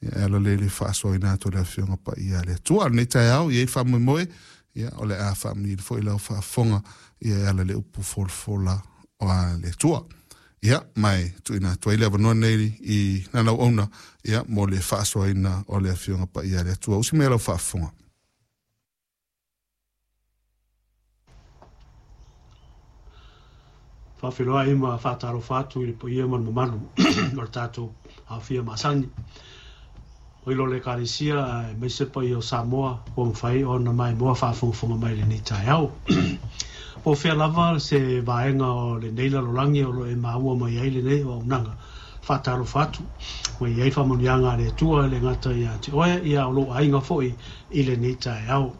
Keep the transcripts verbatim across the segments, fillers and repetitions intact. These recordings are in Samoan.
Ia e ala lea i le faasoaina atu o le Afioga Paia a le Atua. O lenei taeao, ia i faamoemoe, ia o le a faamanuia foi lau faafofoga, ia e ala i le upu folafola a le Atua. Ia, ma e tuuina atu ai le avanoa nei i lana auauna, ia, mo le faasoaina o le Afioga Paia a le Atua. Usi mai lau faafofoga. Faafeiloai ma faatalofa atu i le paia ma le mamalu o le tatou aofia masani. O ilo le Ekalesia aemaise paia o Samoa ua mafai ona maimoa faafogafoga mai lenei taeao. Po o fea lava se vaega o lenei lalolagi o lo o e maua mai ai lenei auaunaga, faatalofa atu ma i ai faamanuiaga a le Atua e le gata ia te oe, ia o lou aiga foi i lenei taeao.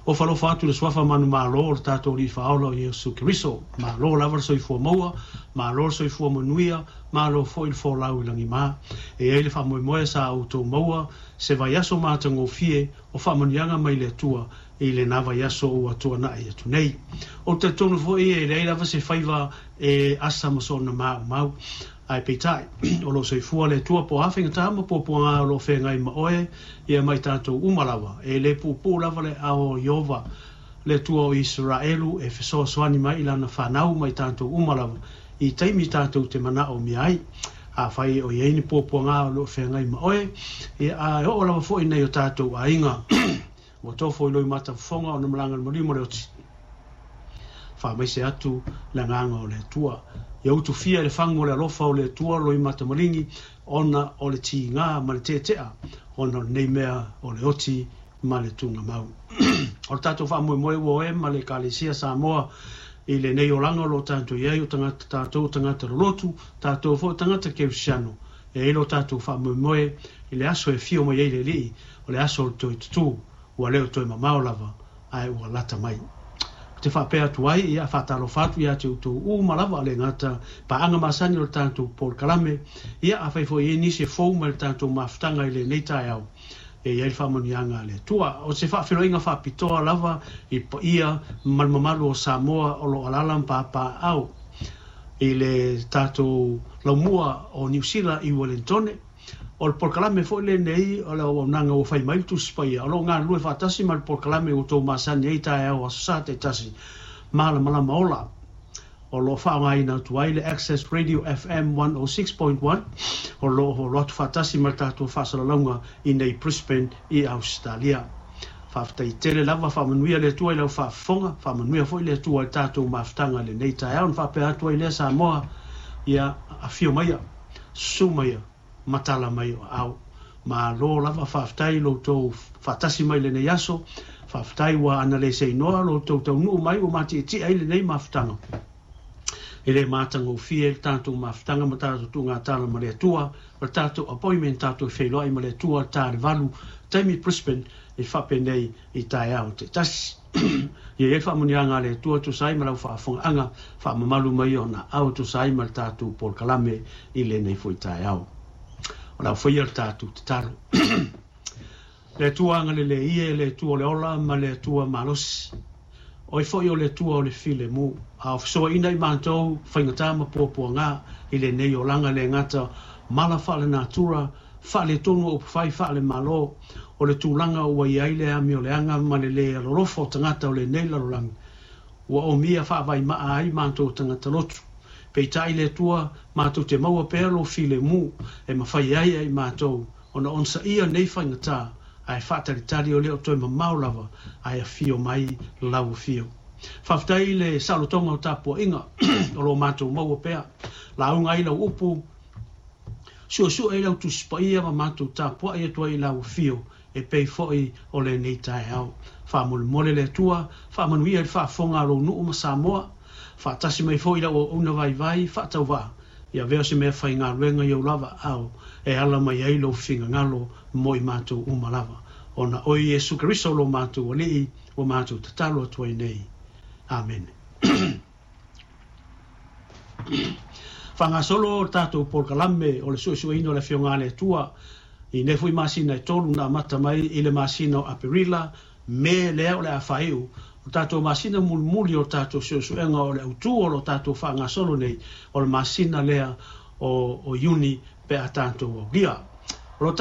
O falofa atu le suafa manumalo o le tatou Alii Faaola o Iesu Keriso. Malo lava le soifua maua, malo le soifua manuia, malo foi le folau i lagima. E i ai le faamoemoe sa outou maua se vaiaso matagofie o faamanuiaga mai le Atua i lena vaiaso ua tuanai atu nei. Ou te talitonu foi e leai lava se faiva e asa ma sona maumau. Ae peitai, o lo o soifua le Atua po o a faigata ma puapuaga o lo o feagai ma oe, ia ma i tatou uma lava. E le puupuu lava le ao o Ieova, le Atua o Isaraelu, e fesoasoani mai i lana fanau ma i tatou uma lava, i taimi tatou te manaomia ai. Afai o i ai ni puapuaga o lo o feagai ma oe, ia, a e oo lava foi i nai o tatou aiga, ua tofo i loimata fofoga ona malaga le maliu ma le oti. Faamaise atu le agaga o le Atua. Ia utufia i le fagu o le alofa o le Atua loimata maligi, ona o le tiga ma le tetea, ona o lenei mea o le oti ma le tugamau. O le tatou faamoemoe ua oe ma le Ekalesia Samoa i lenei olaga o lo o tatou i ai, o tagata tatou, o tagata lolotu, tatou foi o tagata kerisiano. E ai lo tatou faamoemoe i le aso e fio mai ai le Alii, o le aso o le toe tutū, ua le o toe mamao lava, ae ua lata mai. Ou te faapea atu ai, ia faatalofa atu ia te outou uma lava, le gata paaga masani o le tatou polokalame, ia afai foi i ai nisi e fou mai le tatou mafutaga i lenei taeao, e i ai le faamanuiaga a le Atua. O se faafeiloaiga faapitoa lava i paia ma le mamalu o Samoa o lo o alaala ma papaaao i le tatou laumua o Niu Sila i Uelintone. O le polokalame foi lenei o le auaunaga ua fai mai le Tusi Paia, o lo o galulue faatasi ma le polokalame ua outou masani ai taeao Aso Sa taitasi, Malamalama Ola. O lo o faaaogaina atu ai le Access Radio F M one oh six point one, o lo o holo atu faatasi ma le tatou faasalalauga i nei Brisbane i Ausetalia. Faafetai tele lava, faamanuia le Atua i lau faafofoga, faamanuia foi le Atua i le tatou mafutaga i lenei taeao. Na faapea atu ai lea Samoa, ia afio maia, susu maia, matala mai o aao. Malo lava, faafetai lo outou faatasi mai lenei aso, faafetai ua ana le seinoa lo outou taunuu mai ua matietie ai lenei mafutaga. E le matagofie le tatou mafutaga ma tatou tuugatala ma le Atua, o le tatou appointment tatou feiloai ma le Atua ta le valu, taimi Brisbane e faapenei i taeao taitasi. Ia i ai faamanuiaga a le Atua tusa ai ma lau faafofogaaga, faamamalu mai ona ao tusa ai ma le tatou polokalame i lenei foi taeao. O lau faia le tatou tatalo. Le Atua agalelei e, le Atua o le ola ma le Atua malosi. Oe foi o le Atua o le filemu. A o fesoaina i matou faigata ma puapuaga i lenei olaga le gata mala faale-natura, faaletonu o upufai faale-malo, o le tulaga ua i ai le amioleaga ma le le alolofa o tagata o lenei lalolagi. Ua omia faavaimaa ai matou tagata lotu. Peitai le Atua, matou te maua pea lo filemu e mafai ai ai matou ona onosaia nei faigata, ae faatalitali o le o toe mamao lava, ae afio mai lau afio. Faafetai le saolotoga o tapuaiga o lo matou maua pea. Lauga ai lau upu, suesue ai lau Tusi Paia ma matou tapuai atu ai i lau afio e pei foi o lenei taeao. Faamolemole le Atua, faamanuia i le faafofoga a lou nuu ma Samoa, faatasi mai foi lau auauna vaivai, faatauvaa, ia avea se mea faigaluega i ou lava aao, e ala mai ai lou finagalo mo i matou uma lava. Ona oe Iesu Keriso lo matou Alii, ua matou tatalo atu ai nei. Amene. Faagasolo o le tatou polokalame o le suesueina o le Afioga a le Atua i nei foi masina e tolu na amata mai i le masina o Aperila, Me lea o le a faaiu. O tatou masina mulimuli o tatou suesuega o le autū o lo tatou faagasolo nei, o le masina lea o, o Iuni pe a tatou aulia. O lo